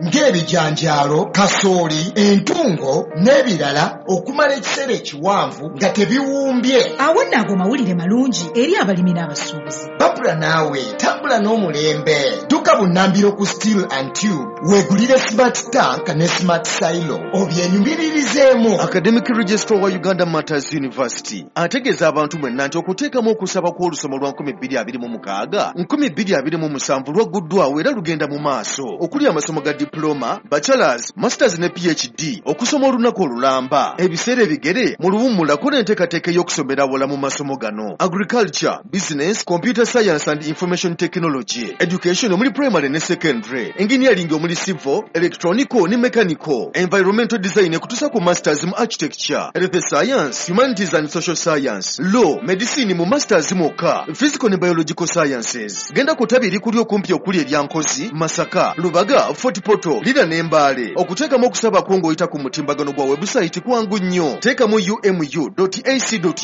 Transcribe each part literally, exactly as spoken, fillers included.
Ng'ebijanjaalo, kasooli, entungo n'ebirala okumala ekiseera ekiwanvu nga tebiwumbye. Awo nno ago mawulire malungi eri abalimi n'abasuubuzi. Babula naawe tambula n'omulembe. Dduka bunnambiro ku Steel and Tube weegulire smart tank ne smart silo obyenyumiririzeemu. Academic Registrar wa Uganda Martyrs University ategeeza abantu mwenna nti okuteekamu okusaba kw'olusoma lwa nkumi bbiri abiri mu mukaaga nkumi bbiri abiri mu musanvu lwagguddwawo era lugenda mu maaso, okuli amasomo ga diploma, bachelors, masters ne P H D, okusoma olunaku olulamba, ebiseera ebigere, mu luwummulako n'enteekateeka ey'okusomera awala mu masomo gano: agriculture, business, computer science and information technology, education omuli primary ne secondary, engineering omuli civil, electronical ne mechanical, environmental design ekutuusa ku masters mu architecture, health science, humanities and social science, law, medicine mu masters mwokka, physical ne biological sciences. Genda ku ttabi erikuli okumpi okuli erya Nkozi, Masaka, Lubaga, Fort Portal, Lira ne Mbaale. Okuteekamu okusaba kwo ng'oyita ku mutimbagano gwa webusayiti kwangu nnyo. Teekamu umu ac ug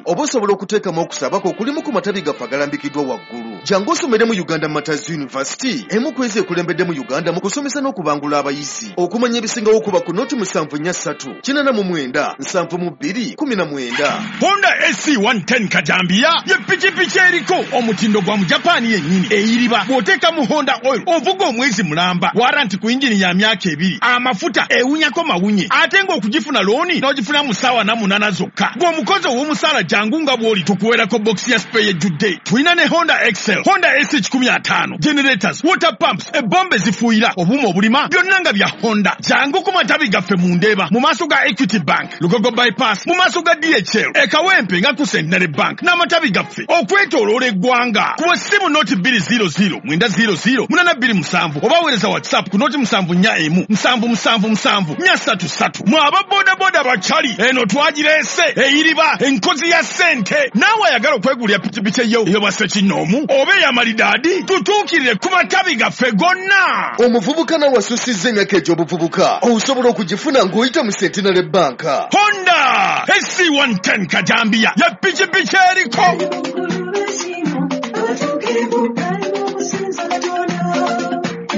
oba osobola okuteekamu okusaba kwo kulimu ku matabi gaffe agalambikiddwa waggulu. Jangu osomere mu Uganda Martyrs University, emu ku ezo ekulembedde mu Uganda mu kusomesa n'okubangula abayizi. Okumanya ebisingawo kuba ku noti musanvu nnya ssatu kinaana mu mwenda nsanvu mu bbiri kumi na mwenda. Honda S C one ten kajambiya ye pikipiki eriko omutindo gwa Mujapaani yennyini, eyiriba bw'oteekamu Honda oil ovuga omwezi mulamba, warranty ku yingini ya myaka ebiri, amafuta ewunyako mawunye, ate ng'okugifuna looni n'ogifuna mu ssaawa na munaana zokka. Gw'omukozi ow'omusaala jangu nga bw'oli tukuweerako bokisi ya spare ejjudde. Tulina ne Honda Excel, Honda S kikumi ataano, generators, water pumps, ebombe zifuuyira, obuuma obulima, byonna nga bya Honda. Jangu ku matabi gaffe mu Ndeeba mu maaso ga Equity Bank, Lugogo Bypass mu maaso ga D H L, e Kawempe nga ku Centenary Bank n'amatabi gaffe okwetooloola eggwanga. Kuba essimu noti bbiri zero zero mwenda zero zero munana bbiri musanvu oba weereza WhatsApp ku noti musanvu nnya emu musanvu musanvu musanvu nnya ssatu ssatu. Mwe aba bodaboda bakyali eno twagireese eyiriba enkozi ya ssente. Naawe ayagala okwegulira pikipiki eyo ey'obwassekinnoomu oba ey'amalidaadi, tutuukirire ku matabi gaffe gonna. Omuvubuka nawe asussizza emyaka egy'obuvubuka osobola okugifuna ng'oyita mu Centenary Bank. Honda S C one ten kajambiya ya pikipiki eriko. Abatuukirivu bali mu kusinza Katonda.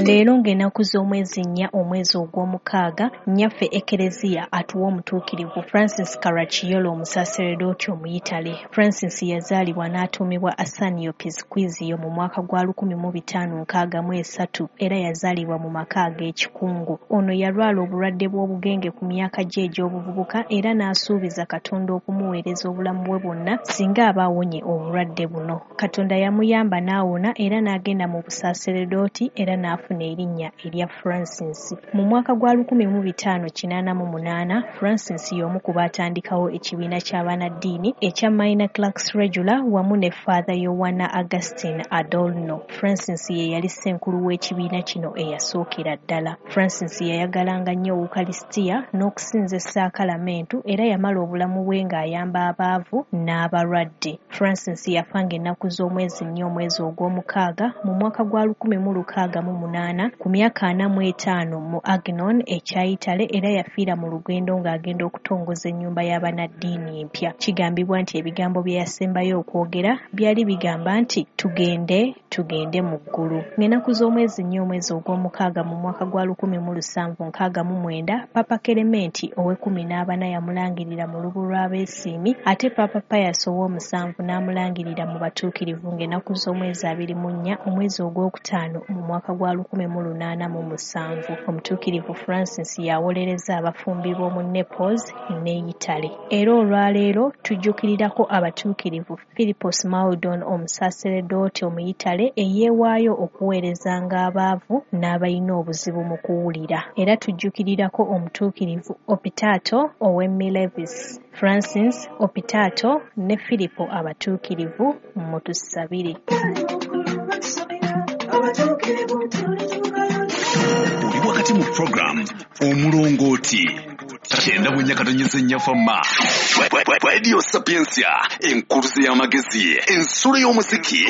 Leero ng'ennaku z'omwezi nnya omwezi ogw'omukaaga, nnyaffe Ekereziya atuwa omutuukirivu Francis Caracciolo, omusaseredooti Omuyitale. Francis yazaalibwa n'atuumibwa Ascanio Pisquizio mu mwaka gwa lukumi mu bitaano nkaaga mu esatu era yazaalibwa mu maka ag'ekikungu. Ono yalwala obulwadde bw'obugenge ku myaka gye egy'obuvubuka era n'asuubiza Katonda okumuweereza obulamu bwe bwonna singa aba awonye obulwadde buno. Katonda yamuyamba n'awona era n'agenda mu busaseredooti era n'afuna erinnya erya Francis. Mu mwaka gwa lukumi mu bitaano kinaana mu munaana, Francis y'omu ku baatandikawo ekibiina ky'abannaddiini ekya Minor Clerks Regular wamu ne Father Yowana Augustine Adorno. Francis ye yali ssenkulu w'ekibiina kino eyasookera ddala. Francis yayagalanga nnyo Ukalisitiya n'okusinza essaakalamentu era yamala obulamu bwe ng'ayamba abaavu n'abalwadde. Francis yafa ng'ennaku z'omwezi nnya omwezi ogw'omukaaga mu mwaka gwa lukumi mu lukaaga mu munaana ku myaka ana mu etaano mu Agnon ekya Italy, era yafiira mu lugendo ng'agenda okutongoza ennyumba y'abannaddiini empya. Kigambibwa nti ebigambo bye yasembayo okwogera byali bigamba nti, "Tugende, tugende mu ggulu." Ng'ennaku z'omwezi nnya omwezi ogw'omukaaga mu mwaka gwa lukumi mu lusanvu nkaaga mu mwenda, Papa Kelementi ow'ekkumi n'abana yamulangirira mu lubu lw'abeesiimi, ate Papa Pius ow'omusanvu n'amulangirira mu batuukirivu ng'ennaku z'omwezi abiri mu nnya omwezi ogwokutaano mu mwaka gwa lukumi mu lunaana mu musanvu. Omutuukirivu Francis yawolereza abafumbi b'omu Naples ne Italy. Era olwaleero tujjukirirako abatuukirivu Filippo Smaldon, omusaseredooti Omuyitale eyeewaayo okuweerezanga abaavu n'abalina obuzibu mu kuwulira. Era tujjukirirako omutuukirivu Opitato ow'e Milevis. Francis, Opitato ne Filipo abatuukirivu, mutusabire. Abatuukirivu tulituukayo. Oli wakati mu program Omulongooti kyenda bwenya katonyeza ennya fama Radio Sapientia, enkuluze y'amagezi, ensulo y'omuziki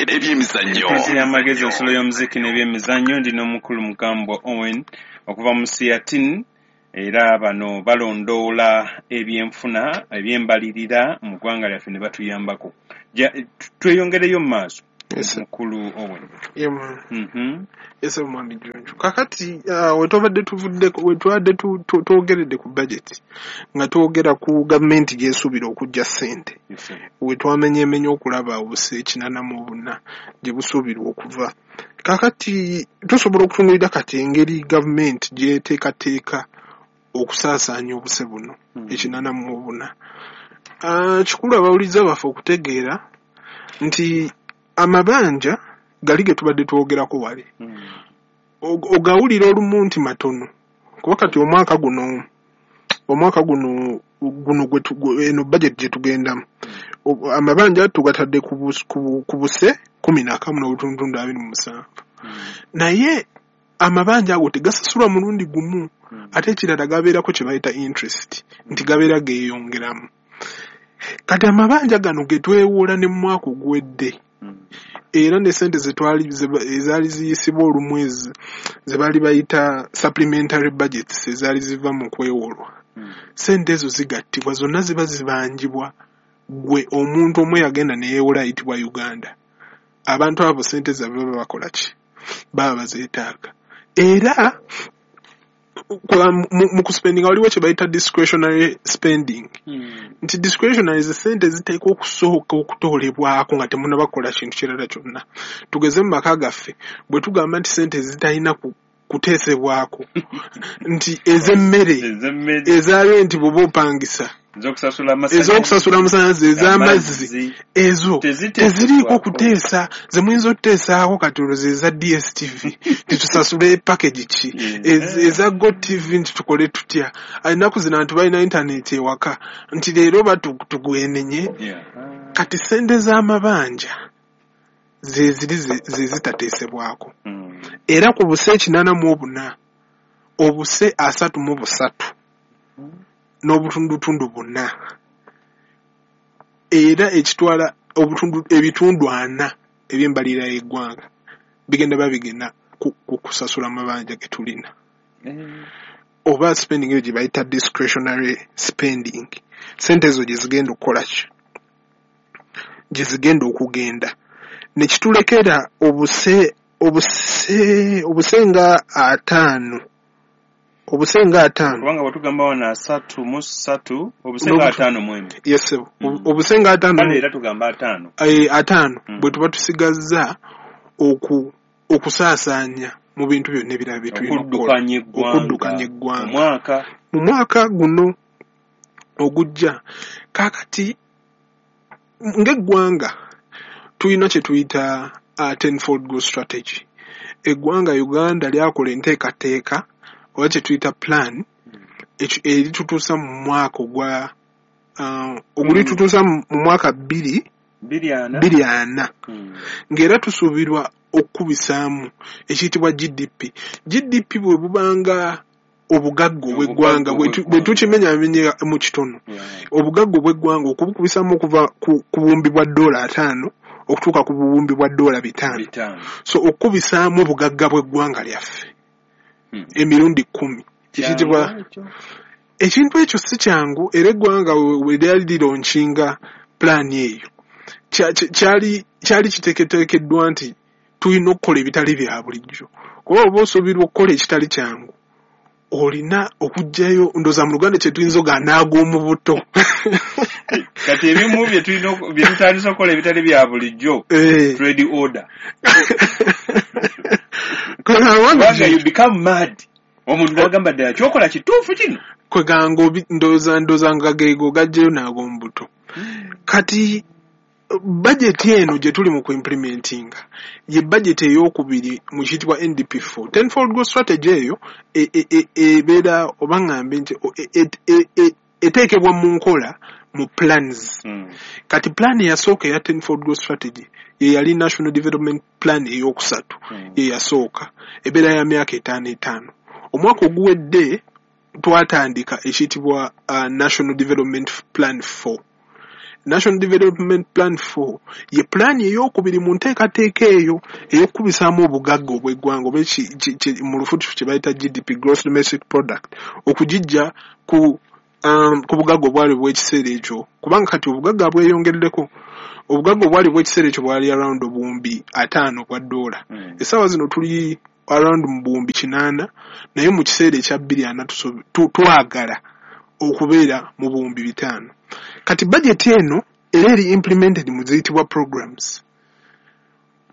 n'ebyemizannyo. Enkuzi y'amagezi, ensulo y'omuziki n'ebyemizannyo. Ndi n'omukulu Mukambwa Owen okuva mu Siatin, era bano balondoola ebyenfuna, ebyembalirira mu ggwanga lyaffe ne batuyambako. Tweyongereyo mu maaso. Yes, sir. Mukulu Owen. Yeah, man. Mhm. Yes, mwami Junju. Kakati uh, wetwabadde tuvudde wetwabadde tu- tu- twogeredde ku budget nga twogera ku gavumenti gy'esuubira okuggya ssente. Yes, sir. Wetwamenyeemenye okulaba obuse ekinaana mu buna gye busuubirwa okuva. Kakati tusobola okutunuulira kati engeri gavumenti gy'eteekateeka okusaasaanya obuse buno Mm. ekinaana mu buna. Ah, kikulu abawuliza baffe okutegeera nti amabanja gali ge tubadde twogerako wali Mm. Og- ogawulira olumu nti matono kuba kati omwaka guno omwaka guno guno gwe tu- gwe- eno budget gye tugendamu O- amabanja tugatadde ku bus- ku bu- ku buse kumi na kamu n'obutundutundu abiri mu musanvu Mm. naye amabanja ago tegasasulwa mulundi gumu Mm. ate ekirala gabeerako kye bayita interest nti gabeera geeyongeramu kati amabanja gano ge twewola ne mu mwaka oguwedde Mm. era ne sente zetwali ze- ezaali ziyisibwa olumu ezi ze baali bayita supplementary budgets ezaali ziva mu kwewolwa Mm. sente ezo zigattibwa zonna ziba zibanjibwa gwe omuntu omu yagenda ne yeewola ayitibwa Uganda abantu abo sente zaabwe baba bakola ki baba bazeetaaga era kwa- mu- mu kuspendinga waliwo kye bayita discretionary spending Mm. nti discretionary ze sente ziteekwa okusooka okutoolebwako nga temunnaba kukola kintu kirala kyonna tugeze mu maka gaffe bwe tugamba nti sente zitalina ku- kuteesebwako nti ez'emmere Ez'emmere, eza renti bw'oba opangisa ez'okusasula amasannyalaze, ez'okusasula amasannyalaze ez'amazzi amazzi, ezo teziteesebwako. teziriiko kuteesa ze muyinza okuteesaako kati olwo ze eza D S T V titusasule package ki Yeah. Ez- eza Go T V nti tukole tutya ennaku zino abantu balina intaneti ewaka nti leero batu- tugwenenye Yeah. kati sente z'amabanja ze ziri ze ze zitateesebwako Mm. era ku buse ekinaana mu obuna obuse asatu mu busatu n'obutundutundu buna era ekitwala obutundu ebitundu ana eby'embalirira y'eggwanga bigenda babigenda ku, ku kusasula amabanja ge tulina Eh. oba spending eyo gye bayita discretionary spending sente ezo gye zigenda okukola ki gye zigenda okugenda ne kitulekera obuse obuse obuse nga ataano obuse nga ataano kubanga bwetugamba wano asatu mu ssatu obuse nga N'obutu- ataano mu emu yes sir. Mm. Obuse nga ataano kale era tugamba ataano eh, ataano Mm. bwe tuba tusigazza oku okusaasaanya mu bintu byonna ebirala bye tulina okukola okuddukanya eggwanga okuddukanya eggwanga omwaka mu mwaka guno ogujja kaakati ng'eggwanga tulina kye tuyita uh, tenfold growth strategy eggwanga Uganda lyakola enteekateeka oba kye tuyita plan eki- eritutuusa mu mwaka ogwa uh, ogulitutuusa mu mu mwaka bbiri bbiri ana bbiri ana Mm. ng'era tusuubirwa okukubisaamu ekiyitibwa G D P. G D P bwe bubanga obugagga obw'eggwanga bwe tu- bwe tukimenyamenya mu kitono Yeah. obugagga obw'eggwanga okubukubisaamu okuva ku ku buwumbi bwa ddoola ataano okutuuka ku buwumbi bwa ddoola bitaano bitaano so okukubisaamu obugagga bw'eggwanga lyaffe Mm. emirundi kkumi ekiyitibwa Kyangu ekyo? ekintu ekyo si kyangu era eggwanga we we lyali lilaunchinga pulaani eyo kya- kya- kyali kyali kiteeketeekeddwa nti tulina okukola ebitali bya bulijjo kuba oba osuubirwa okukola ekitali kyangu olina okuggyayo ndowooza mu Luganda kye tuyinza ogaa n'ag'omu buto kati ebimu bye tulina oku- bye tutandise okukola ebitali bya bulijjo Eh. trade order Kwegamba kubanga you become mad omuntu n'agamba ddala kyokola kituufu kino kweganga obi- ndowooza ndowooza nga geego gaggyeyo n'ag'omu buto kati bajeti eno gye tuli mu kuimplementinga ye bajeti ey'okubiri mu kiyitibwa N D P four tenfold growth strategy eyo e- e- e- ebeera oba ŋŋambe nti o- e- e- e- e- eteekebwa mu nkola mu plans Mm. kati plan eyasooka eya tenfold growth strategy ye yali national development plan ey'okusatu Mm. ye yasooka ebeera ya myaka etaano etaano omwaka oguwedde twatandika ekiyitibwa uh, national development plan four national development plan four ye pulaani ey'okubiri mu nteekateeka eyo ey'okukubisaamu obugagga obw'eggwanga oba eki- ki- ki- mu lufutufu kye bayita G D P, gross domestic product okugijja ku um, ku bugagga obwali obw'ekiseera ekyo, kubanga kati obugagga bweyongeddeko. Obugagga obwali obw'ekiseera ekyo bwali around obuwumbi ataano bwa ddoola. Mm. Essaawa zino tuli around mu buwumbi kinaana, naye mu kiseera ekya bbiri ana tusobe- tu- twagala okubeera mu buwumbi bitaano. Kati budget eno era eri implemented mu ziyitibwa programs.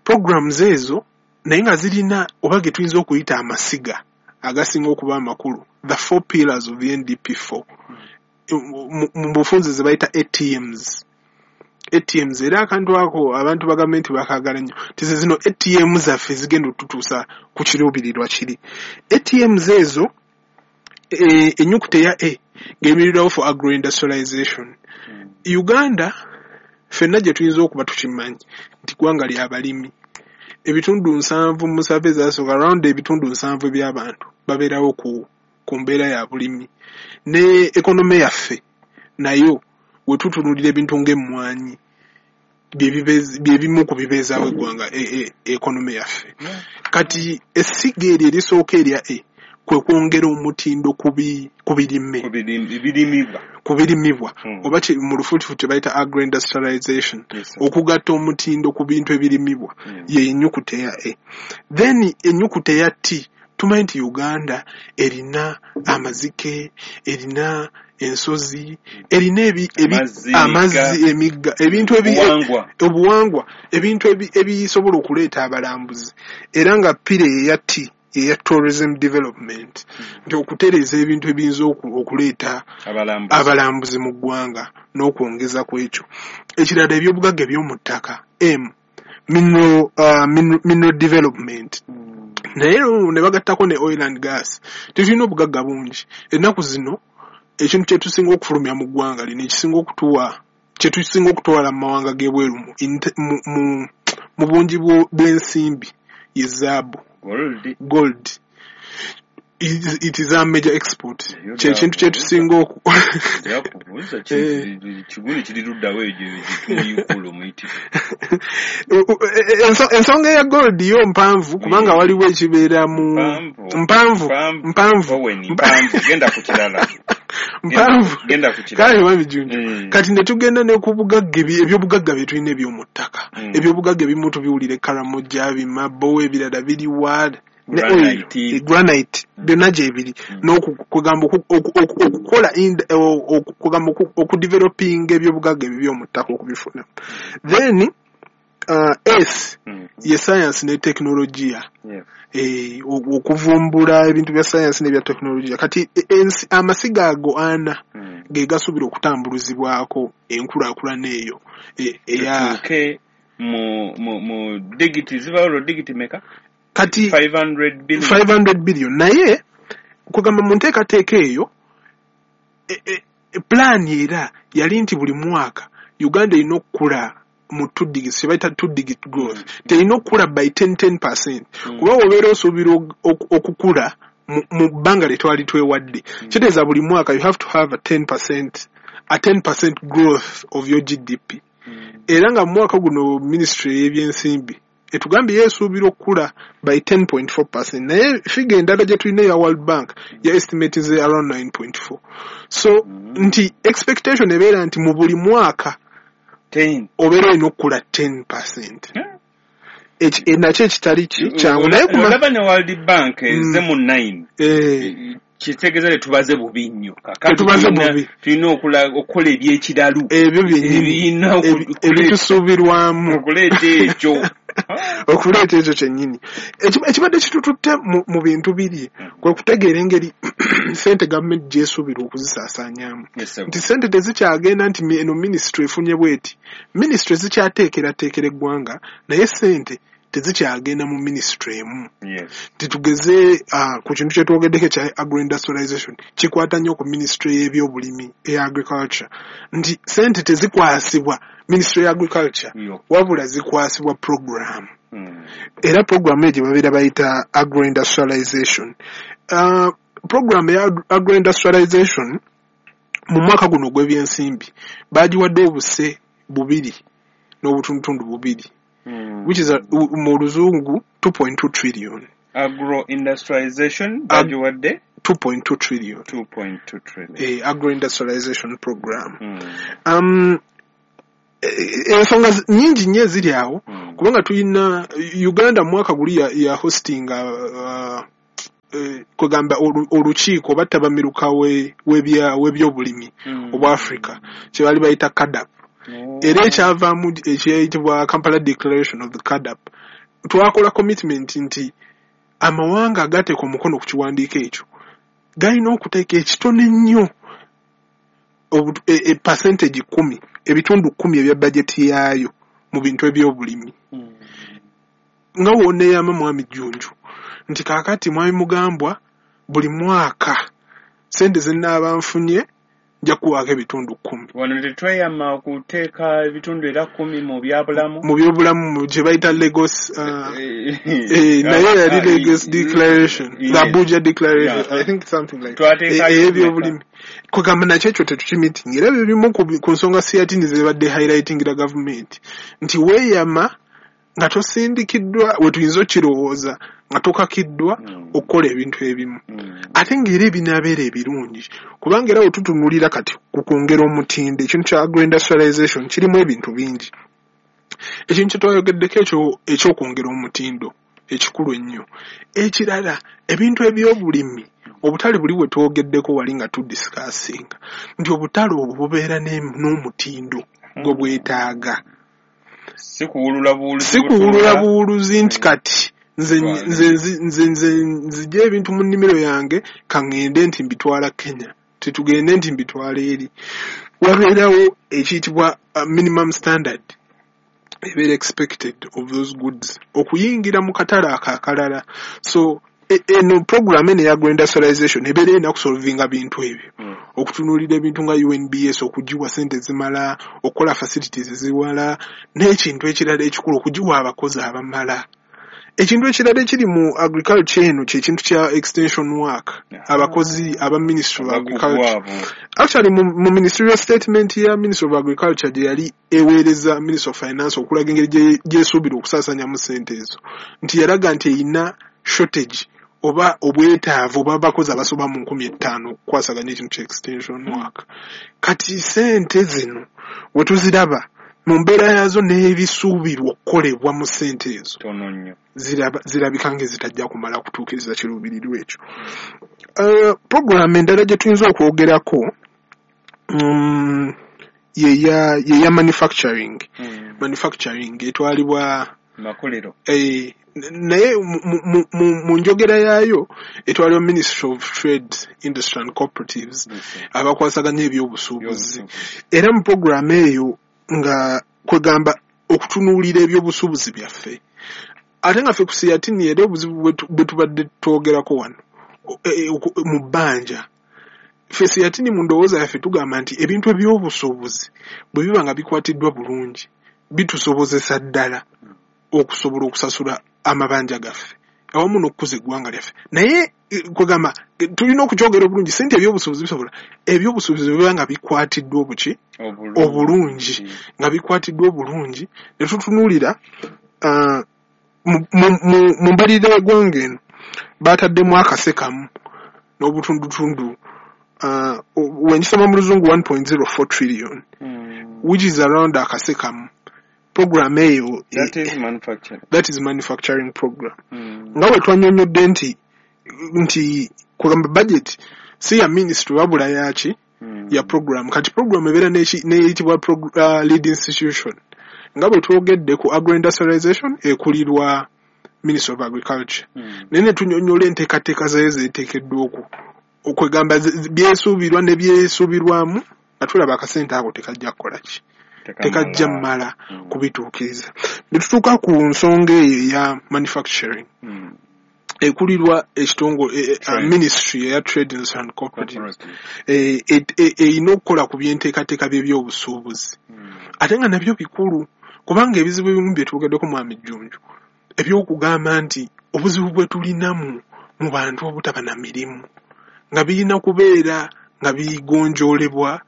Programs ezo naye nga zirina oba ge tuyinza okuyita amasiga agasinga okuba amakulu, the four pillars of the N D P four, mu mu bufunze ze bayita A T Ms. A T Ms, era akantu ako abantu ba gavumenti bakaagala nnyo, nti ze zino A T M zaffe zigenda otutuusa ku kiruubirirwa kiri. A T Ms ezo, e, ennyukuta eya A ng'eyimirirwawo for agroindustrialization. Uganda ffenna gye tuyinza okuba tukimanyi nti ggwanga lya balimi. Ebitundu nsanvu mu survey ezasooka, around ebitundu nsanvu eby'abantu babeerawo ku, ku mbeera ya bulimi. Ne economy yaffe nayo we tutunuulira ebintu ng'emmwanyi, bye bibeezi- bye bimu ku bibeezaawo eggwanga, e, e, economy yaffe. Kati essiga eryo erisooka erya A kwe kwongera omutindo ku bi- ku birime, Ku birim- birimibwa. ku birimibwa, Mm. oba ki- mu lufuutifuuti kye bayita agroindustrialization, Yes, sir. okugatta omutindo ku bintu ebirimibwa. Mm. Ye ennyukuta eya A. Then ennyukuta eya T, tumanyi nti Uganda erina amazike, erina ensozi, erina ebi, ebi, Amazzi, amazzi, emigga, ebintu ebi, Obuwangwa. obuwangwa, ebintu ebi- ebisobola okuleeta abalambuzi. Era nga pillar eya T eya tourism development, nti okutereeza ebintu ebiyinza oku- okuleeta abalambuzi abalambuzi mu ggwanga n'okwongeza ku ekyo. Ekirala, ebyobugagga eby'omu ttaka, M, mineral, uh, mineral, mineral development, naye ne bagattako ne oil and gas. Tetulina obugagga bungi ennaku zino. Ekintu kyetusinga okufulumya mu ggwanga lino, ekisinga okutuwa, kyetusinga okutwala mu mawanga g'ebweru mu, inte- mu, mu, mu bungi bwo- bw'ensimbi ye zaabu. Gold. Gold, it, it is our major export. Eyo Kyekintu kyetusinga oku Njakubuuza, Eh. kigundi kiri luddawo egyo ekimuyikula omuyitirivu? Enso- ensonga eya gold yo mpanvu, kubanga Eh. waliwo ekibeera mu Mpanvu. Mpanvu. Mpanvu. Owen, mpanvu, genda ku kirala. Mpanvu. Genda ku kirala. Kale wabijunju. Mm. Kati ne tugenda ne ku bugagga, ebi- ebyobugagga bye tulina eby'omu ttaka. Mm. Ebyobugagga ebimu tubiwulira e Karamoja, Bimabowa, ebirala biriwa, ne oil, Granite. eh, granite, byonna gyebiri. N'okugamba okukola ind- o- o- kugamba oku- okudevelopinga ebyobugagga ebyo by'omu ttaka okubifuna. Then uh, S Mm. ye science ne technologia, Yes. eh, o- okuvumbula ebintu bya science n'ebya technologia. Kati e- ensi- amasiga ago ana Mm. ge gasuubira okutambulizibwako enkulaakulana eyo e- eya Tutuuke mu mu mu digit ziba olwo digit meka? Kati five hundred billion. five hundred billion, naye kugamba mu nteekateeka eyo, e, e, e, plan era yali nti buli mwaka Uganda erina okukula mu two digits, kye bayita two digit growth, terina okukula by ten ten percent, Mm. kuba obeera osuubira ok- ok- okukula mu mu bbanga lye twali twewadde, kitegeeza buli mwaka you have to have a ten percent, a ten percent growth of your G D P. Mm. Era nga mu mwaka guno ministry y'ebyensimbi etugambye yeesuubira okukula by ten point four percent, naye figure endala gye tulina eya World Bank ya estimate ze around nine point four. So Mm. nti expectation ebeera nti mu buli mwaka ten. obeera olina okukula ten percent. Yeah. Eki- e, nakyo ekitali ki kyangu, naye kuma Olaba ne World Bank eze Mm. mu nine, eh, kitegeeza tetubaze bubi nnyo. Kakati Tetubaze tulina- bubi. Tulina okula- okukola ebyekiralu Ebyo byennyini ebirina oku- ebi- ebitusuubirwamu okuleeta ekyo. Okuleeta ekyo kyennyini. Eki- ekibadde kitututte mu, mu bintu biri kwe kutegeera engeri sente gavumenti gyesuubira okuzisaasaanyaamu, Yes, sir. nti sente tezikyagenda nti mi- eno minisitule efunye bweti. Minisitule zikyateekerateekera eggwanga, naye sente tezikyagenda mu minisitule emu. Yes. Nti tugeze uh, ku kintu kyetwogeddeko ekya agroindustrialization, kikwata nnyo ku minisitule y'ebyobulimi eya agriculture, nti sente tezikwasibwa minisitule ya agriculture, Yo. wabula zikwasibwa program. Mm. Era program eyo gye babeera bayita agroindustrialization. uh, program ya agroindustrialization mu mwaka guno ogw'ebyensimbi bagiwadde obuse bubiri n'obutundutundu bubiri, Mm. which is a, mu luzungu two point two trillion. Agro industrialization Ag- bagiwadde two point two trillion. two point two trillion. Eh, agro-industrialization program. Mm. Um, ensonga nyingi nnyo eziri awo, mm. kubanga tulina Uganda mu mwaka guli ya, ya hosting uh, uh, kugamba olukiiko battabamiruka w'ebyobulimi mm. obwa Africa kye baali bayita CADAP. Oh. Era ekyavaamu ekiyitibwa Kampala Declaration of the CADAP, twakola commitment nti amawanga agateeka omukono ku kiwandiiko ekyo galina okuteeka ekitono ennyo e, e percentage kumi, ebitundu kumi ebya bajeti yaayo mu bintu ebyobulimi. Mm. Nga wonneeyama Mwami Jjunju nti kaakati Mwami Mugambwa buli mwaka ssente ze nnaaba nfunye nja kuwaako ebitundu kkumi. Wano tetweyama okuteeka ebitundu era kkumi mu byabulamu, mu byobulamu gye bayita Lagos uh, eh, naye yali Lagos Declaration, yes. The Abuja Declaration, yeah. I think something like Twateekayo ebyobulimi. Kwegamba nakyo ekyo tetukimitinga, era bimu ku nsonga SEATINI zebadde highlightingira gavumenti nti weeyama nga tosindikiddwa, we tuyinza okirowooza nga tokakiddwa mm. okukola ebintu ebimu. Mm. Ate ng'era ebinaabeera ebirungi, kubanga era we tutunuulira kati ku kwongera omutindo, ekintu kya agro-industrialization kirimu ebintu bingi. Ekintu kye twayogeddeko ekyo eky'okwongera omutindo ekikulu ennyo. Ekirala, ebintu ebyobulimi, obutale buli bwe twogeddeko wali nga tudiscussinga nti obutale obwo bubeera n'omutindo gwe bwetaaga. Si kuwulula buwuluzi, si kuwulula buwuluzi nti kati nze nze nze nze nzije ebintu mu nnimiro yange kaŋŋende nti mbitwala Kenya, tetugende nti mbitwala eri. Wabeerawo ekiyitibwa minimum standard ebeera expected of those goods okuyingira mu katale ako akalala. So eno program eno eya agro-industrialization ebeera erina kusolvinga bintu ebyo, mm. okutunuulira ebintu nga U N B S, okugiwa ssente ezimala, okukola facilities eziwala, n'ekintu ekirala ekikulu okugiwa abakozi abamala. Ekintu ekirala ekiri mu agriculture eno kye kintu kya extension work, abakozi aba Ministry of Agriculture. Actually mu, mu ministerial statement ya Ministry of Agriculture gye yali eweereza Ministry of Finance okulaga engeri gyesuubira okusaasaanyamu ssente ezo, nti yalaga nti erina shortage oba obwetaavu oba abakozi abasoba mu nkumi ettaano okukwasaganya ekintu kya extension work. Kati ssente zino we tuziraba mu mbeera yaazo n'ebisuubirwa okukolebwa mu ssente ezo zirabika ng'ezitajja kumala kutuukiriza kiruubirirwa ekyo. Uh, program endala gye tuyinza okwogerako um, yeya yeya manufacturing. Mm. Manufacturing etwalibwa makolero. Eh, naye mu njogera yaayo etwalibwa Ministry of Trade, Industry and Cooperatives, abakwasaganya ebyobusuubuzi. Era mu program eyo nga kwegamba okutunuulira ebyobusuubuzi byaffe. Ate nga ffe ku SEATINI era obuzibu bwe tubadde twogerako wano mu bbanja, ffe SEATINI mu ndowooza yaffe tugamba nti ebintu ebyobusuubuzi bwe biba nga bikwatiddwa bulungi bitusobozesa ddala okusobola okusasula amabanja gaffe awamu n'okukuza eggwanga lyaffe. Naye kwegamba tulina okukyogera obulungi, si nti ebyobusuubuzi bisobola, ebyobusuubuzi biba nga bikwatiddwa obuki obulungi, nga bikwatiddwa obulungi ne tutunuulira uh, mu mbalirira y'eggwanga eno baataddemu akase kamu n'obutundutundu uh, wenkisoma mu luzungu one point zero four trillion, mm. which is around akase kamu. Program eyo that is manufacturing, that is manufacturing program. Mm. Nga bwe twannyonnyodde nti nti kugamba budget si ya ministry wabula yaki mm. ya program. Kati program ebeera n'eyitibwa uh, lead institution. Nga bwe twogedde ku agro-industrialization ekulirwa Ministry of Agriculture. Mm. Naye ne tunnyonnyola enteekateeka zaayo zeeteekeddwa oku okwegamba byesuubirwa ne byesuubirwamu nga tulaba akasente ako tekajja kukola ki, tekajja mmala mm. kubituukiriza. Ne tutuuka ku nsonga eyo eya manufacturing, mm. ekulirwa ekitongole e, e, ministry eya Trade and Cooperatives erina okukola ku byenteekateeka by'ebyobusuubuzi. Mm. Ate nga nabyo bikulu, kubanga ebizibu ebimu bye twogeddeko Mwami Jjunju eby'okugamba nti obuzibu bwe tulinamu mu bantu obutaba na mirimu nga birina kubeera nga bigonjoolebwa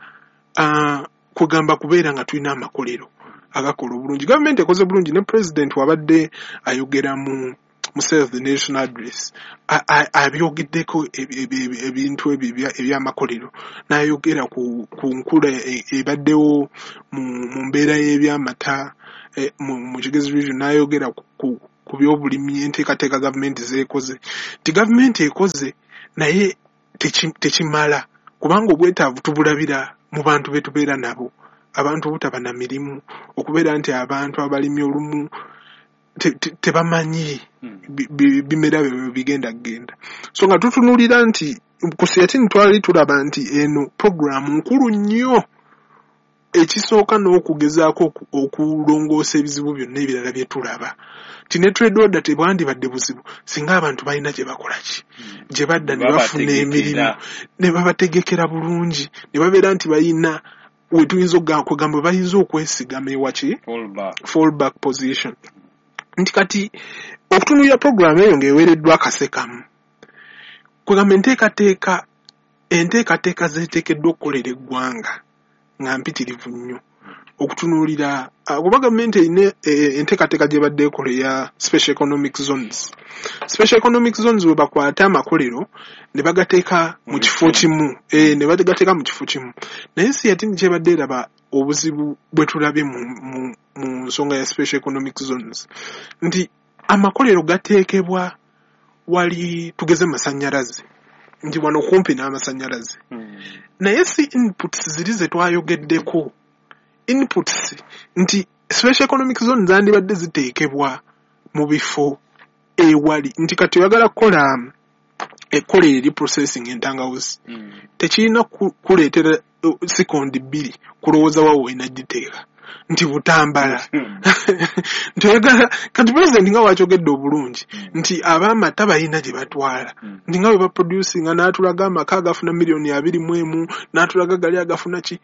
uh, kugamba kubeera nga tulina amakolero agakola obulungi. Gavumenti ekoze bulungi ne president wabadde ayogera mu mu State of the Nation Address abyogeddeko ebintu ebyo ebyamakolero, n'ayogera ku nkula ebaddewo mu mbeera y'ebyamata mu Kigezi region, n'ayogera ku byobulimi, enteekateeka gavumenti zeekoze, nti gavumenti ekoze naye tekimala, kubanga obwetaavu tubulabira mu bantu be tubeera nabo, abantu obutaba na mirimu, okubeera nti abantu abalimi olumu tebamanyi bimera byabwe bigenda kugenda. So nga tutunuulira nti ku SEATINI twali tulaba nti eno puroguramu nkulu nnyo, ekisooka n'okugezaako okulongoosa ebizibu byonna ebirala bye tulaba, nti ne trade order tebwandibadde buzibu singa abantu balina gye bakola ki, gye badda ne bafuna emirimu, ne babategekera bulungi, ne babeera nti balina we tuyinza okugamba bayinza okwesigama ewaki fallback position. Nti kati okutunuulira puroguramu eyo ng'eweereddwa akasekamu, kwegamba enteekateeka enteekateeka zeeteekeddwa okukolera eggwanga nga mpitirivu nnyo okutunuulira, kuba gavumenti erina enteekateeka gy'ebadde ekola eya special economic zones. Special economic zones we bakwata amakolero ne bagateeka mu kifo kimu, ne bagateeka mu kifo kimu. Naye SEATINI kyebadde eraba obuzibu bwe tulabye mu nsonga ya special economic zones, nti amakolero gateekebwa wali tugeze masannyalaze, nti wano kumpi n'amasannyalaze, naye si inputs ziri ze twayogeddeko, inputs nti special economic zone zandibadde ziteekebwa mu bifo ewali, nti kati oyagala kukola ekkolero eri processing entangawuzi, tekirina kuleetera sikondi bbiri kulowooza wa olina giteeka, nti Butambala nti oyagala kati pulezidenti nga wakyogedde obulungi nti ab'amata balina gye batwala, nti nga bwe baproducinga n'atulaga amaka agafuna miliyoni abiri mu emu, n'atulaga gali agafuna ki.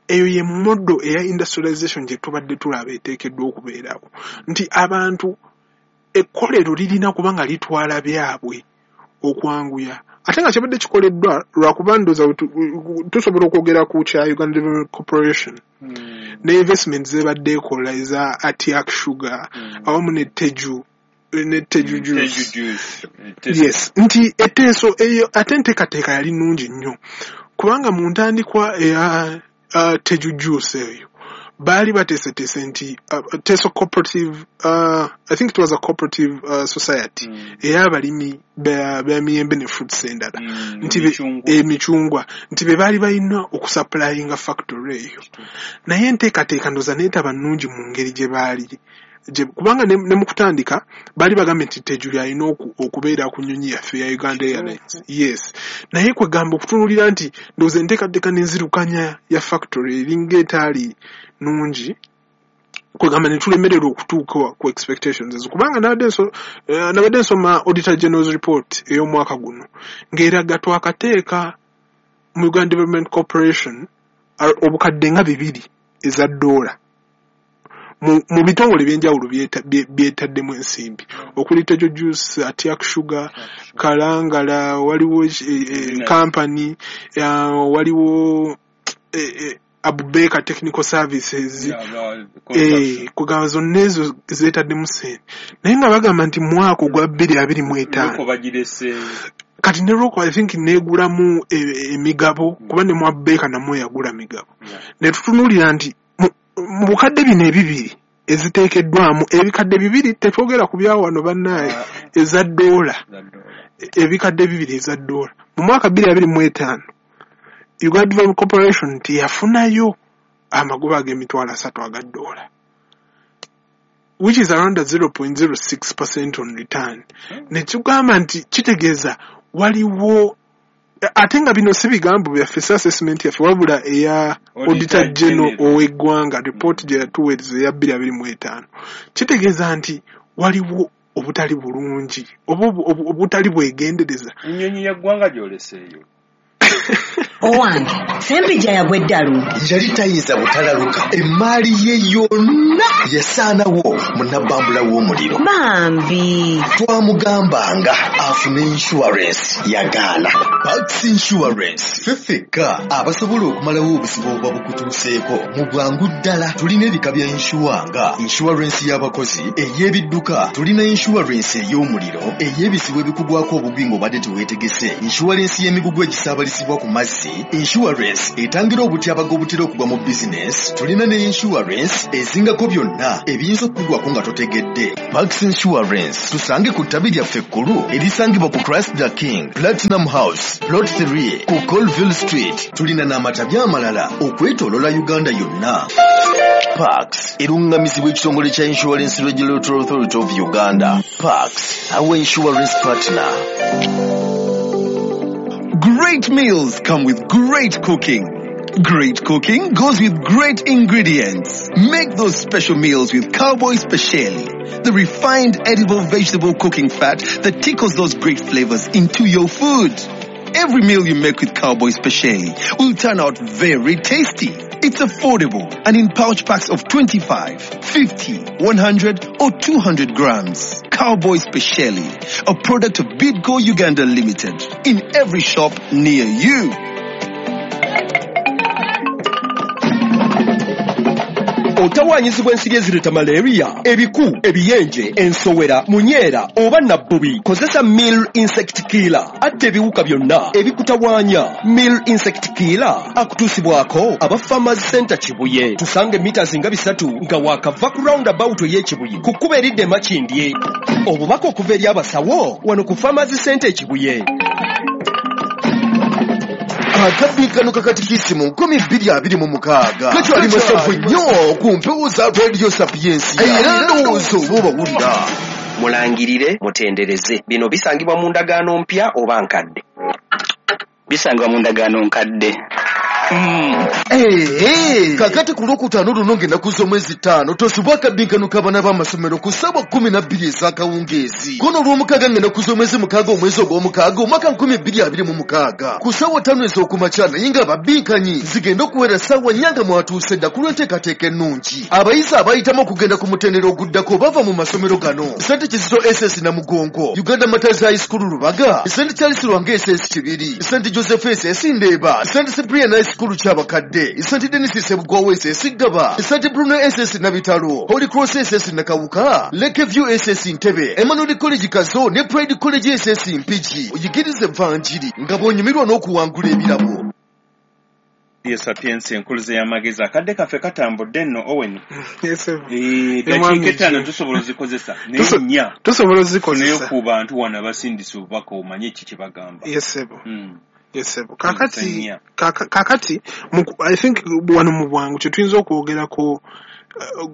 Eyo ye model eya industrialization gye tubadde tulaba eteekeddwa okubeerawo, nti abantu ekkolero lirina kuba nga litwala byabwe okwanguya, ate nga kyabadde kikoleddwa lwakuba ndowooza tusobola okwogera ku kya Uganda Development Corporation ne investment zebadde ekola eza Atiak Sugar awamu ne Teju ne Teju Juice. Yes, nti eteeso eyo ate enteekateeka yali nnungi nnyo, kubanga mu ntandikwa eya Uh, Teju Juice eyo baali bateeseteese nti uh, Teso Cooperative, uh, I think it was a cooperative uh, society ey'abalimi b'emiyembe ne fruits endala, nti emicungwa, nti be baali balina okusupplyinga factory eyo. Naye enteekateeka ndowooza neetaba nnungi mu ngeri gye baali, kubanga ne mu kutandika baali bagambye nti Teju lyalina okubeera ku nnyonyi yaffe ya Uganda Airlines. Yes, naye kwegamba okutunuulira nti ndowooza enteekateeka n'enzirukanya ya factory eringa etaali nnungi, kwegamba ne tulemererwa okutuuka ku expectations ezo, kubanga nabadde nsoma Auditor General's report ey'omwaka guno ng'eraga twakateeka mu Uganda Development Corporation obukadde nga bibiri eza ddoola mu bitongole ebyenjawulo byetaddemu ensimbi, okuli Tejo Juice, Atiak Sugar, Kalangala, waliwo company, waliwo Abubeka Technical Services, kugamba zonna ezo zeetaddemu ssente, naye nga bagamba nti mwaka ogwa bbiri abiri mu etaano kati ne Roko I think neegulamu emigabo, kuba ne mu Abubeka namwo yagula migabo, ne tutunuulira nti mu bukadde bino ebibiri eziteekeddwamu, ebikadde bibiri tetwogera ku bya wano bannaaye, eza ddoola, ebikadde bibiri eza ddoola mu mwaka bbiri abiri mu etaano Uganda Development Corporation teyafunayo amagoba ag'emitwalo asatu aga ddoola, which is around a zero point zero six percent on return. Ne tugamba nti kitegeeza waliwo, ate nga bino si bigambo byaffe, si assessment yaffe, wabula eya Auditor General ow'eggwanga report gye yatuweereza eya bbiri abiri mu etaano, kitegeeza nti waliwo obutali bulungi oba obutali bwegendereza. Ennyonyi ya ggwanga gy'oleseeyo. Owange, Ssempijja yagwa eddalu. Yali tayinza butalaluka, emmaali ye yonna yasaanawo mu nabbambula w'omuliro. Bambi. Twamugambanga afune insurance, yagaana. Pax Insurance ffe ffekka abasobola okumalawo obuzibu obuba bukutuuseeko mu bwangu ddala. Tulina ebika bya insure nga insurance y'abakozi, ey'ebidduka, tulina insurance ey'omuliro, ey'ebizibu ebikugwako obugwi ng'obadde teweetegese, insurance y'emigugu egisaabalizibwa ku mazzi, insurance etangira obutyabaga obutera okugwa mu bizinesi, tulina ne insurance ezingako byonna ebiyinza okukugwako nga totegedde. Pax Insurance tusange ku ttabi lyaffe ekkulu erisangibwa ku Christ the King Platinum House Plot three ku Colville Street. Tulina n'amatabi amalala okwetooloola Uganda yonna. Pax erungamizibwa ekitongole kya Insurance Regulatory Authority of Uganda. Pax, our insurance partner. Great meals come with great cooking. Great cooking goes with great ingredients. Make those special meals with Cowboy Speciale, the refined edible vegetable cooking fat that tickles those great flavors into your food. Every meal you make with Cowboy Speciale will turn out very tasty. It's affordable and in pouch packs of twenty-five, fifty, one hundred or two hundred grams. Cowboy Speciale, a product of Bidco Uganda Limited, in every shop near you. Otawaanyizibwa ensiri ezireeta malaria, ebiku, ebiyenje, ensowera, munyeera oba nabbubi. Kozesa Mill Insect Killer, atta ebiwuka byonna ebikutawaanya. Mill Insect Killer akutuusibwako aba Farmers Center Kibuye. Tusange mita nga bisatu nga waakava ku roundabout ey'e Kibuye ku kkubo eridda e Makindye. Obubaka okuva eri abasawo wano ku Farmers Center e Kibuye. Akabbi kano kakatikisimu nkumi bbiri abiri mu mukaaga kakyali masavu nnyo ku mpewo za Radio Sapiensia, era ndowooza oba obawulira. Mulangirire, mutendereze. Bino bisangibwa mu ndagaano mpya oba nkadde? Bisangibwa mu ndagaano nkadde. Ee, kakati ku lwokutaano luno ng'ennaku z'omwezi ttaano tosubwa akabbinkano k'abaana b'amasomero ku ssaawa kkumi na bbiri ez'akawungeezi. Kono olw'omukaaga ng'ennaku z'omwezi mukaaga omwezi ogw'omukaaga omwaka nkumi bbiri abiri mu mukaaga ku ssaawa ttaano ez'okumakya, naye ng'ababinkanyi zigenda okuwera ssaawa nnya nga mwatuuse dda ku lw'enteekateeka ennungi. Abayizi abayitamu okugenda ku mutendera oguddako bava mu masomero gano: Saint Kizito S S Namugongo, Uganda Martyrs High School Lubaga, Saint Charles Lwanga S S Kibiri, Saint Joseph S S Ndeeba, Saint Cyprian High School Kyabakadde, Saint Denis Sebugwawo S S Ggaba, Saint Bruno S S Nabitalo, Holy Cross S S Nakawuka, Lakeview S S Ntebe, Emmanuel College Kazo ne Pride College S S Mpigi. Oyigirize evanjiri nga bw'onyumirwa n'okuwangula ebirabo. Radio Sapiensia enkuluze y'amagezi. Akadde kaffe katambudde nno, Owen. Yes, sir. Eh, dakiika ettaano tusobola ozikozesa naye nnya tusobola ozikozesa naye ku bantu wano abasindise obubaka omanye ki kye bagamba. Yes, sir. Mm. Yes, sir. Kakati, kaka, kakati I think wano mu bwangu kye tuyinza okwogerako uh,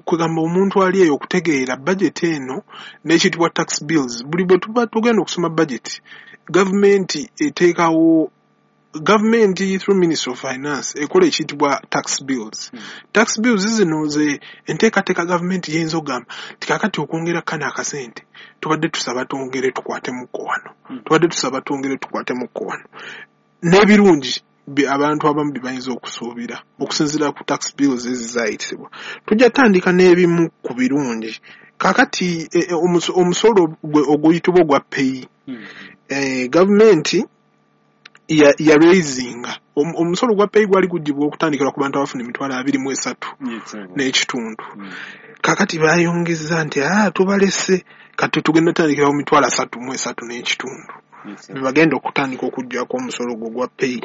kugamba omuntu ali eyo okutegeera budget eno n'ekiyitibwa tax bills. Buli bwe tuba tugenda okusoma budget, gavumenti eteekawo, gavumenti through Ministry of Finance ekola ekiyitibwa tax bills. Mm. Tax bills zino ze enteekateeka gavumenti yeyinza okugamba nti kaakati okwongera kano akasente tubadde tusaba twongere tukwatemukko wano, Mm. tubadde tusaba twongere tukwatemukko wano. N'ebirungi abantu abamu bye bayinza okusuubira okusinziira ku tax bills ezizaayitibwa. Tujja tandika n'ebimu ku birungi. Kaakati e, e, omusolo oguyitibwa ogwa pay, Mm. e, gavumenti ya, ya raisinga omusolo gwa pay gwali gugibwa okutandikira ku bantu abafuna emitwalo abiri mu esatu n'ekitundu. Mm. Kaakati bayongeza nti ah, tubalese kati tugenda tandikira ku mitwalo asatu mu esatu n'ekitundu. Yes, bagenda okutandika okuggyako omusolo gwo gwa pay.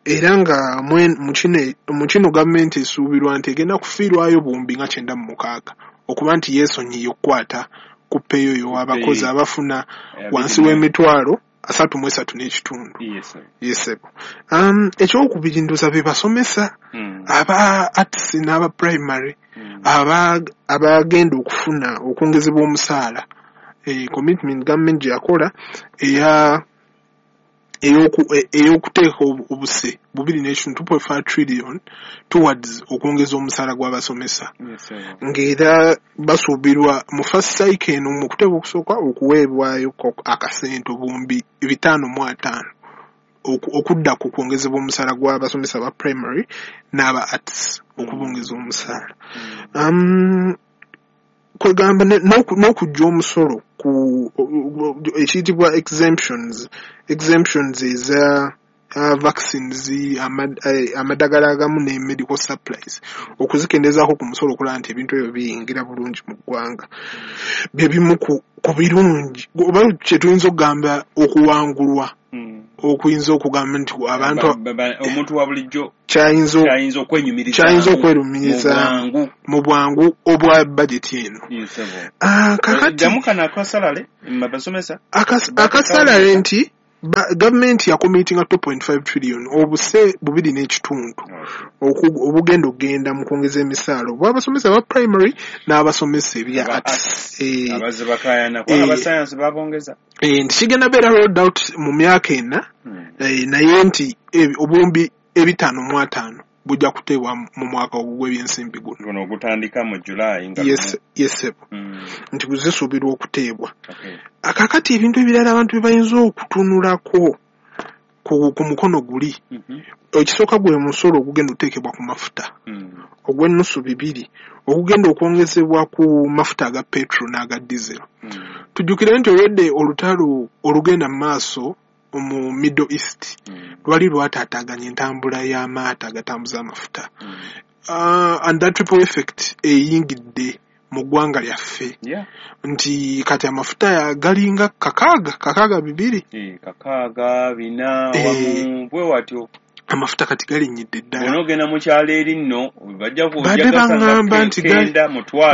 Era nga mu kino gavumenti esuubirwa nti egenda kufiirwayo buwumbi nga kyenda mu mukaaga okuba nti yeesonyiye okukwata ku pay oyo abakozi abafuna wansi w'emitwalo asatu mu esatu n'ekitundu. Yes, sir. Yes, sir. Um, ekyokubiri ndowooza be basomesa Mm. aba arts n'aba primary Mm. aba abagenda okufuna okwongezebwa omusaala. Eh, commitment gavumenti gye yakola eya ey'okuteeka obuse bubiri n'ekitundu two point five trillion towards okwongeza omusaala gw'abasomesa. Yes, sir. Ng'era basuubirwa mu first cycle eno mu kuteeka okusooka okuweebwayo akasente obuwumbi bitaano mu ataano okudda ku kwongezebwa omusaala gw'abasomesa ba primary n'aba arts okubongeza omusaala. Um, kwegamba n'okujja omusolo ku ekiyitibwa exemptions, exemptions eza uh, vaccines, amadagala agamu ne medical supplies, okuzikendezaako ku musolo okulaba nti ebintu ebyo biyingira bulungi mu ggwanga. Bye bimu ku birungi oba kye tuyinza okugamba okuwangulwa, okuyinza okugamba nti abantu omuntu wa bulijjo kyayinza okwerumiriza mu bwangu obwa bajeti eno. Akasalale nti gavumenti yakomitinga two point five trillion obuse bubiri n'ekitundu obugenda okugenda mu kwongeza emisaala obw'abasomesa aba primary n'abasomesa ebya arts. Abazze bakaayana kuba aba science babongeza. Nti kigenda beera rolled out mu myaka ena, naye nti obuwumbi ebitaano mu ataano bujja kuteebwa mu mwaka ogw'ebyensimbi guno. Guno ogutandika mu July nga yes, yes, nti guzisuubirwa okuteebwa. Akakati ebintu ebirala abantu bye bayinza okutunulako ku, ku mukono guli, ekisooka gwe musolo ogugenda oteekebwa ku mafuta ogw'ennusu bibiri ogugenda okwongezebwa ku mafuta aga petrol n'aga diesel. Tujjukire nti olwedde olutalo olugenda mu maaso mu Middle East lwali lwataataaganya entambula y'amaato agatambuza amafuta. Uh, and that triple effect eyingidde mu ggwanga lyaffe. Yeah. Nti kati amafuta galinga kakaaga kakaaga bibiri e, kakaaga bina e, wamu bwe watyo amafuta kati galinnyidde ddala. Bw'onoogenda mu kyalo eri nno bajja badde baŋŋamba nti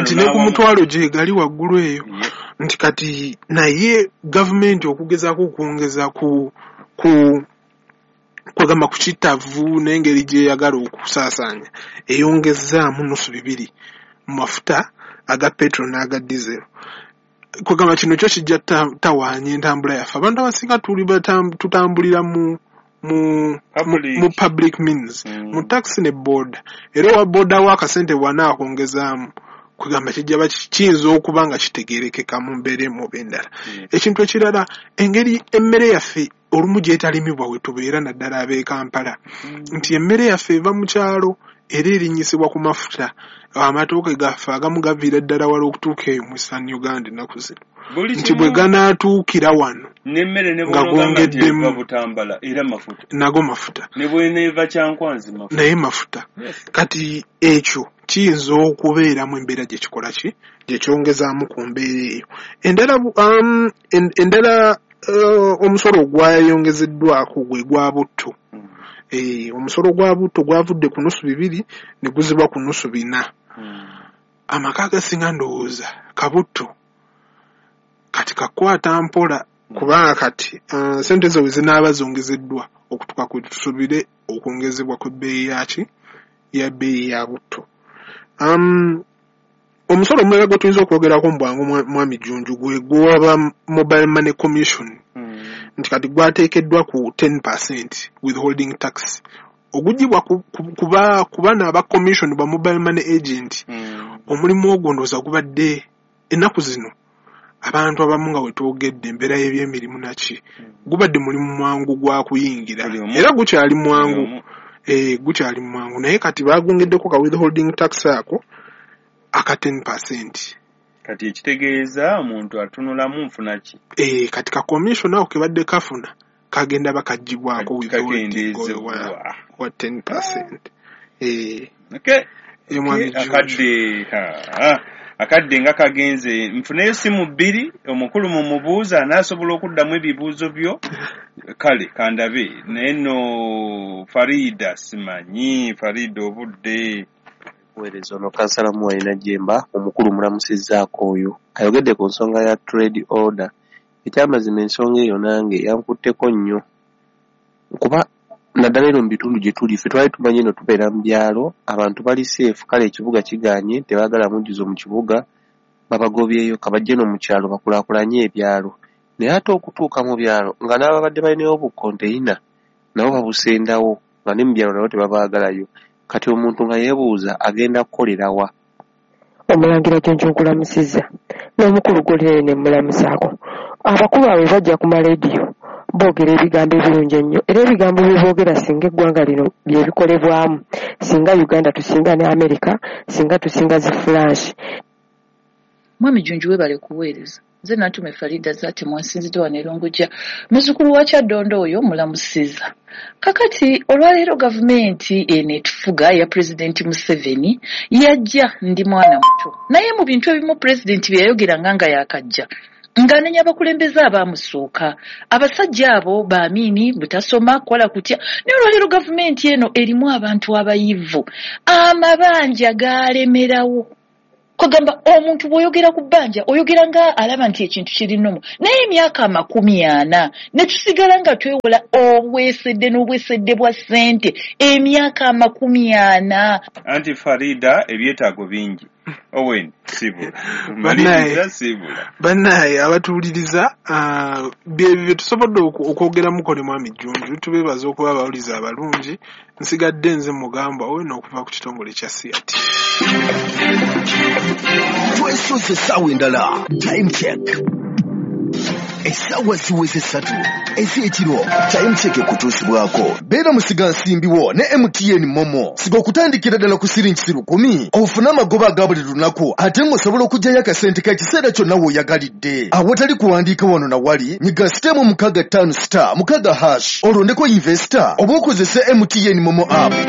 nti ne ku mutwalo gye gali waggulu eyo. Yeah. Nti kati naye gavumenti okugezaako okwongeza ku ku kwegamba ku kitavu n'engeri gy'eyagala okusaasaanya eyongezaamu nusu bibiri mu mafuta aga petrol n'aga diesel. Kwegamba kino kyo kijja tawaanya entambula yaffe. Abantu abasinga tuli tutambulira mu mu public, mu public means, mm. mu taxi ne boda. Era owa boda w'akasente bw'anaakwongezaamu kwegamba kijja kiyinza okuba nga kitegeerekeka mu mbeera emu oba endala. Mm. Ekintu ekirala, engeri emmere yaffe olumu gy'etalimibwa we tubeera naddala ab'e Kampala, mm. nti emmere yaffe eva mu kyalo era erinnyisibwa ku mafuta. Amatooke gaffe agamu gaviira ddala wala okutuuka eyo mu Eastern Uganda ennaku zino, nti bwe ganaatuukira wano n'emmere ne nga gongeddemu Butambala era mafuta, nago mafuta, ne bw'eneeva Kyankwanzi mafuta, naye mafuta. Yes. Kati ekyo kiyinza okubeeramu embeera gye kikola ki gye kyongezaamu ku mbeera eyo. Endala um, endala uh, omusolo ogwayongezeddwako gwe gwa butto. Mm. Eh, omusolo gwa butto gwavudde ku nusu bibiri ne guzibwa ku nusu bina. Mm. Amaka agasinga ndowooza kabutto kati kakwata mpola, kubanga kati uh, sente zo zinaaba zongezeddwa okutuuka ku tusubire okwongezebwa kw'ebbeeyi yaki ya bbeeyi ya butto. Um, omusolo omulala gwe tuyinza okwogerako mu bwangu mwami Jjunju gwe gwaba Mobile Money Commission. Mm. Nti kati gwateekeddwa ku ten percent withholding tax ogugibwa ku, ku, kuba ku baana aba commission ba mobile money agent. Mm. Omulimu ogwo ndowooza gubadde ennaku zino abantu abamu nga wetwogedde embeera y'ebyemirimu naki, gubadde mulimu mwangu gwa kuyingira era gukyali mwangu, eh, gukyali mwangu naye kati bagwongeddeko ka withholding tax ako aka ten percent. Kati ekitegeeza omuntu atunulamu nfuna ki? Eh, kati ka commission ako kebadde kafuna kagenda bakagibwako withholding wa, wa ten percent. Eh, okay. Eh, akadde ha akadde nga kagenze. Nfuneyo simu bbiri, omukulu mumubuuza anaasobola okuddamu ebibuuzo byo. Kale kandabe naye nno Farida simanyi Farida obudde weereza ono kansala Muwalina Jemba omukulu mulamusizzaako oyo ayogedde ku nsonga ya trade order. Ekyamazima ensonga eyo nange yankutteko nnyo kuba naddala eno mu bitundu gye tuli ffe twali tumanyi eno tubeera mu byalo abantu bali seefu, kale ekibuga kigaanye tebaagala mujjuzo mu kibuga babagobyeyo kabajje no mu kyalo bakulaakulanye ebyalo, naye ate okutuuka mu byalo nga n'ababadde balinayo obukonteyina nabo babusendawo nga ne mu byalo nabo tebabaagalayo. Kati omuntu nga yeebuuza agenda kukolera wa? Omulangira Jjunju nkulamusizza n'omukulu Golere ne mmulamusaako. Abakulu abo bajja ku malediyo Boogera ebigambo ebirungi ennyo, era ebigambo bye boogera singa eggwanga lino bye bikolebwamu, singa Uganda tusinga ne America, singa tusinga zi France. Mwami Jjunju, webale kuweereza. Nze Nantume Farida Zaate, mwansinzidde wano e Lungujja. Muzzukulu wa Kyaddondo oyo mulamusiza. Kakati olwaleero gavumenti eno etufuga ya Pulezidenti Museveni yajja ndi mwana muto, naye mu bintu ebimu pulezidenti bye yayogeranga nga yakajja, ng'anenya abakulembeze abaamusooka, abasajja abo baamiini butasoma kukola kutya. Naye olwaleero gavumenti eno erimu abantu abayivu, amabanja gaalemerawo. Kugamba omuntu bw'oyogera ku bbanja oyogera nga alaba nti ekintu kiri nnomo, naye emyaka amakumi ana ne tusigala nga twewola obwesedde n'obwesedde bwa ssente emyaka amakumi ana. Anti Farida, ebyetaago bingi. Owen, sibula maliriza, sibula. Bannaye abatuwuliriza, ah, bye bye tusobodde okwogeramuko ne Mwami Jjunju. Tubeebaza okuba abawulizi abalungi. Nsigadde nze Mugamba Owen okuva ku kitongole kya C R T. Twesoze essaawa endala. Time Check, essaawa ziweze ssatu ez'ekiro. Time Check ekutuusibwako beera musigansimbi wo ne M T N MoMo. Siga okutandikira ddala ku siringi lukumi ofune amagoba aga buli lunaku, ate ng'osobola okuggyayo akasente k'ekiseera kyonna w'oyagalidde awatali kuwandiika wano na wali. Nyiga star mukaaga ttaano star mukaaga hash, olondeko investor oba okozese M T N MoMo app.